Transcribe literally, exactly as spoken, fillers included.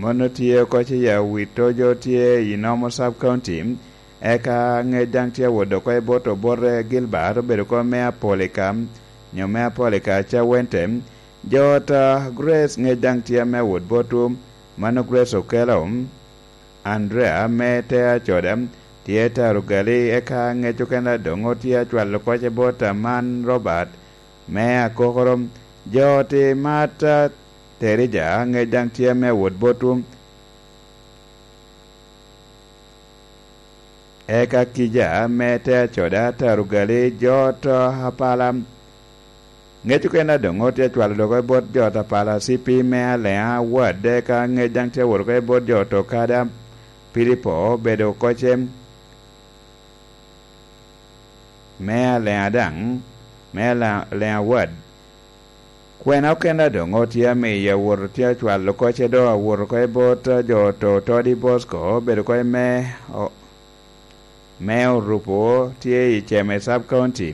Mano tye oko ce ya wito jo tye i Nomo Sub County, eka ŋec daŋ tye awot oko i bot obote Gilbert, obedo oko me Apolika, nyo me Apolika Cawente. Jo ot a Grace ŋec daŋ tye ame awot botwu, mano Grace Okelo, Andrea me te Acoda, tye Tarugali, eka ŋec okene doŋ otye acwalo oko ce bot Aman Robert me Akokoro. Jo ot i Marta Terija ŋec daŋ tye ame awot botwu. Eka kija me te Acoda, Tarugali, jo ot Apala. Ŋec okene doŋ otye acwalo dok i bot jo ot Apala C P me Aleŋa Ward, eka ŋec daŋ tye awot oko i bot jo ot Okada, Pilipo obedo oko ce me Aleŋa daŋ, me Ala-, Aleŋa Ward. Kwena okene doŋ otye amiyo awot otye acwalo oko ce doŋ awot oko i bot jo ot Todi Bosco, obedo oko i me, o-, me Orupo tye i Ceme Sub County.